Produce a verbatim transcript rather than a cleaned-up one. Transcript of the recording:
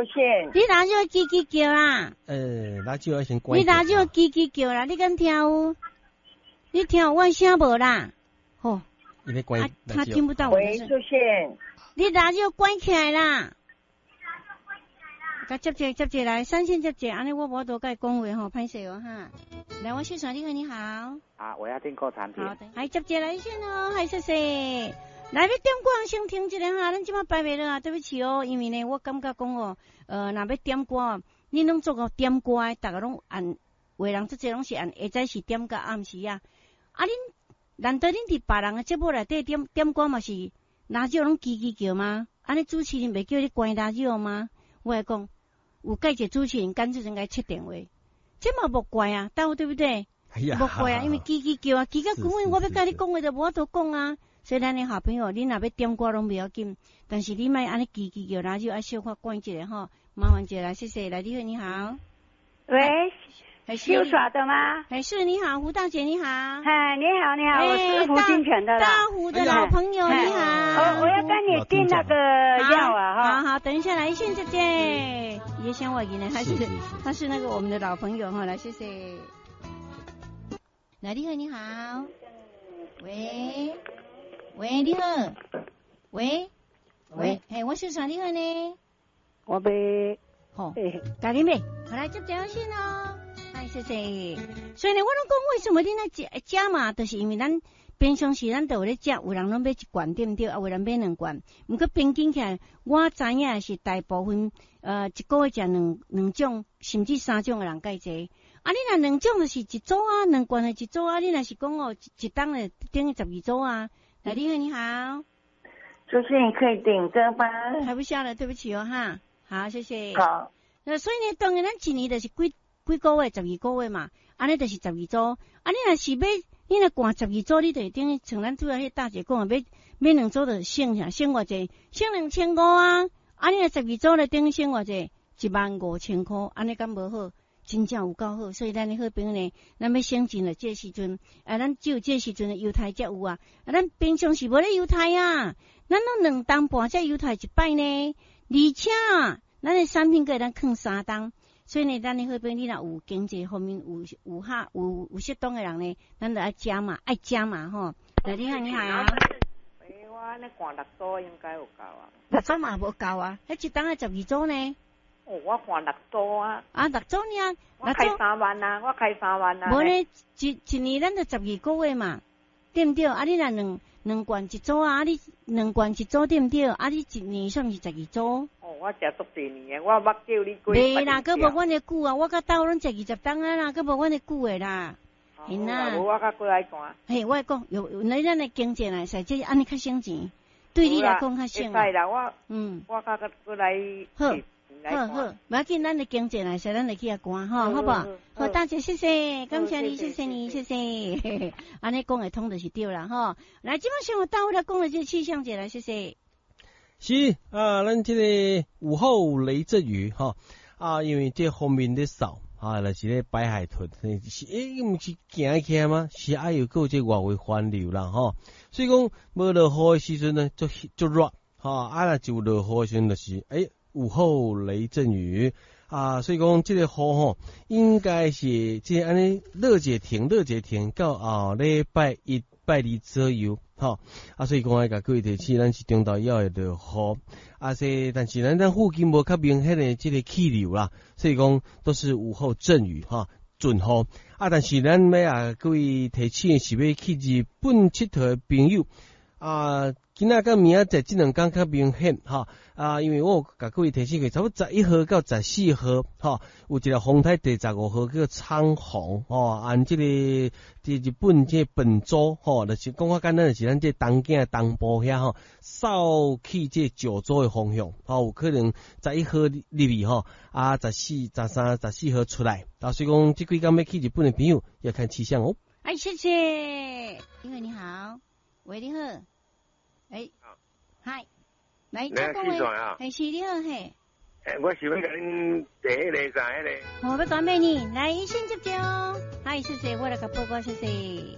線。你哪少吱吱叫啦？呃，哪少愛先關。你哪少吱吱叫啦？你敢聽有？你聽有我聲無啦？吼。啊，他聽不到我的聲。喂，出線。你哪少關起來啦？共接者接者來，三線接者，按呢我無法度共伊講話吼，歹勢哦哈。來，我線上你好，你好。啊，我要訂購產品。好的，來接者來線哦，還謝謝。來，欲點歌先聽一下哈，咱這擺排袂落啊，對不起哦，因為呢，我感覺講哦，呃，若欲點歌，恁攏做個點歌的，逐个攏按，有的人足濟攏是按下早時點到暗時啊。啊，恁難道恁佇別人的節目內底點點歌嘛是拉少攏吱吱叫嗎？按呢主持人袂叫你關拉少嗎？我來講，有蓋一個主持人乾脆應該切電話，這嘛無怪啊，對對不對？無怪啊，因為吱吱叫啊，吱到根本我欲共你講話就無法度講啊。所以咱的好朋友，你若欲點歌攏袂要緊，但是你莫按呢吱吱叫，然後愛小可關一下吼，麻煩一下來，謝謝。來，你好，你好。喂，秀耍的嗎？哎，是，你好，胡大姐，你好。哎，你好，你好，我是胡金泉的。大胡的老朋友，你好。我我要跟你訂那個藥啊，哈。好好，等一下來，謝謝。也想我呢，他是他是那個我們的老朋友哈，來，謝謝。來，你好，你好。喂。喂，你好。喂，喂，嘿，我是啥？你好呢？我欲，好，共你買，好來接電話線哦。哎，謝謝。所以呢，我攏講為什麼恁愛加加碼，就是因為咱平常時咱都有咧食，有人攏買一罐對毋對？啊，有人買兩罐。毋過平均起來，我知影是大部分，呃，一個月食兩兩種，甚至三種的人較濟。啊，你若兩種就是一組啊，兩罐的一組啊。你若是講哦，一一冬的等於十二組啊。來，你好，你好。主持人可以點歌嗎？排不下了，對不起哦，哈。好，謝謝。好。那所以呢，當然咱一年就是幾幾個月，十二個月嘛，按呢就是十二組。啊，你若是欲，你若寒十二組，你就會等於像咱拄仔彼大姐講的，買買兩組就省啥，省偌濟，省兩千五啊。啊，你若十二組咧，等於省偌濟，一萬五千箍，按呢敢無好？真正有夠好，所以咱的好朋友呢，咱欲省錢了，這個時陣，啊，咱只有這個時陣猶太才有啊，啊，咱平常時無咧猶太啊，咱攏兩冬半才猶太一擺呢，而且咱的產品閣會當囥三冬，所以呢，咱的好朋友，你若有經濟方面有有哈有有適當的人呢，咱就愛加碼，愛加碼吼。來，你好，你好。欸，我按呢寒六組應該有夠啊。六組嘛無夠啊，彼一冬愛十二組呢。哦，我寒六組啊！啊，六組爾，我開三萬啊，我開三萬啊。無呢，一一年咱就十二個月嘛，對毋對？啊，你若兩兩罐一組啊，啊你兩罐一組對毋對？啊，你一年算是十二組。哦，我食足濟年的，我捌叫你幾。袂啦，閣無阮的久啊！我佮兜攏食二十冬啊啦，閣無阮的久的啦。嘿啦。無我較閣愛寒。嘿，我講有，那咱的經濟來使，這按呢較省錢，對你來講較省。會使啦，我嗯，我較閣閣來。好。好好，無要緊，咱的經濟來使，咱就去遐寒吼，好無？好，大姐，謝謝，感謝你，謝謝你，謝謝。按呢講會通就是對啦，吼。來，這擺先有到位來講的這個氣象者來，謝謝。是啊，咱這個午後雷陣雨吼啊，因為這鋒面咧掃啊，就是咧白海豚，是欸，毋是行起來嗎？是愛有閣有這外圍環流啦吼，所以講無落雨的時陣呢，足足熱吼，啊若就落雨的時陣就是欸。午後雷陣雨啊，所以講這個雨吼，應該是這按呢落一停，落一停到後禮拜一、拜二左右，吼啊，所以講愛共各位提醒，咱是中晝以後會落雨，啊，說但是咱咱附近無較明顯的這個氣流啦，所以講都是午後陣雨哈，陣雨啊，但是咱欲共各位提醒的是欲去日本𨑨迌的朋友啊。今仔佮明仔載這兩工較明顯吼啊，因為我有共各位提醒過，差不多十一號到十四號吼，有一個風台第十五號叫蒼鴻吼，按這個佇日本這個本州吼，就是講較簡單，就是咱這東京的東部遐吼，掃去這九州的方向吼，有可能十一號入去吼，啊，十四、十三、十四號出來，啊，所以講這幾工欲去日本的朋友要看氣象哦。哎，謝謝，你好，你好，喂，你好。欸，嗨，來，請講話，係是你好嘿。欸，我想欲共恁訂彼個啥彼個。我欲轉買呢，來，先接著哦。嗨，謝謝，我來共報告，謝謝。